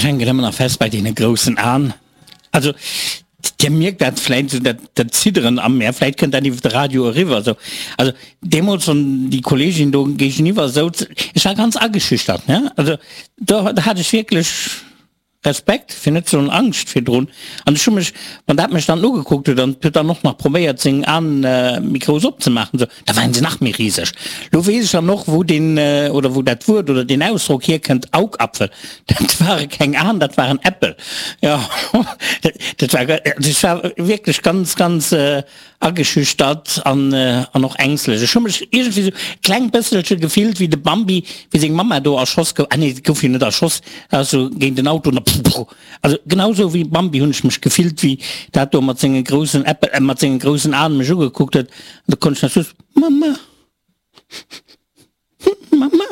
Ech hänken ëmmer nach fest bei deene groussen Aen. Also Dir mierkt dat vläit esou, dat, dat Zidderen am mir, vläit kënnt dat iwwer de Radio eriwwer esou. Also deemools, wann déi Kolleegin do géigeniwwer souz, ech war ganz ageschüchtert, ne? Also do, do hat ech wierklech Respekt, fir net ze soen Angscht virdrun. An ech hu mech, wann dat mech dann ugekuckt huet an huet dann och nach probéiert seng Aen méi grouss opzemaachen, esou, da waren se nach méi riseg. Lo weess ech dann och, wou deen, oder wou dat Wuert oder deen Ausdrock hierkënnt, Augapfel. Dat ware keng Aen, dat waren Äppel. Jo, dat war, also ech war wierklech ganz, ganz ageschüchtert an, an och ängstlech. Ech hu mech iergendwéi esou e kleng bësselche gefillt wéi de Bambi, wéi seng Mamma do erschoss gouf. Ah nee, si gouf jo net erschoss, dat ass esou géint den Auto an da, also genau esou wéi Bambi hunn ech mech gefillt, wéi dat do mat senge groussen Äppel, mat senge groussen Aen mech ugekuckt huet. An da konnt ech nach just, Mamma, Mamma.